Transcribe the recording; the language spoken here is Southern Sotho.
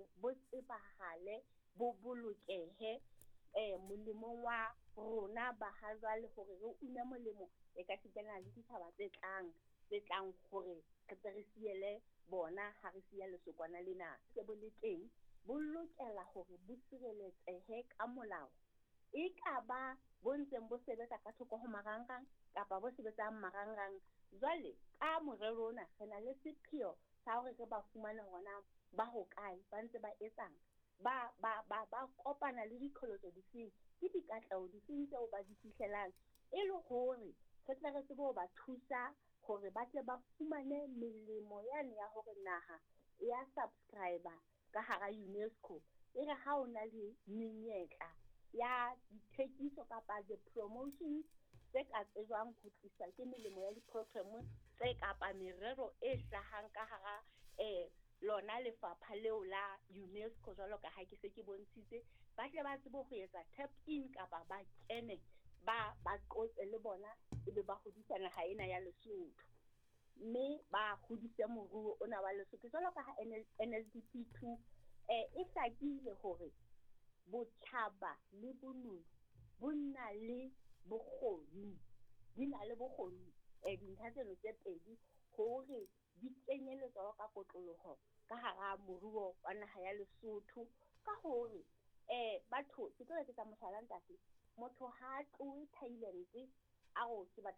Hore bo tsebahale, bo bolokehe molemong wa rona ba ha jwale, hore re une molemo e ka sitana le ditjhaba tse tlang hore re tle re siele bona ha re siya lesokwana lena. Se bo le teng, bo lokela hore bo sireletsehe ka molao, e ka ba bo ntseng bo sebetsa ka thoko ho marangrang kapa bo sebetsang marangrang. Jwale ka morero ona, re na le sepheo sa hore re ba fumane hore na ba hokae, ba ntse ba etsang, ba kopana le diqholotso difeng, ke dikatleho difeng tseo ba di fihlelang, e le hore re tle re tsebe ho ba thusa hore ba tle ba fumane melemo yane ya hore naha ya subscribe ka hara UNESCO. E re ha o na le menyetla ya dithekiso kapa the promotions tse ka tsejwang ho tliswa ke melemo ya di-program tse kapa merero e hlahang ka hara lona lefapha leo la UNESCO, jwalo ka ha ke se ke bontshitse, ba tle ba tsebe ho etsa tap in kapa ba kene, ba qotse le bona, ebe ba hodisa naha ena ya Lesotho, mme ba hodise moruo ona wa Lesotho, jwalo ka ha NSNP 2 e hlakile hore botjhaba le bonono bo na le bokgoni, di na le bokgoni dintlha tseno tse pedi hore di kenyeletswa ka kotloloho ka hara moruo wa naha ya Lesotho. Ka hore batho, ke tlo etsetsa mohlala, ntate, motho ha a tlohe Thailand a re ke batla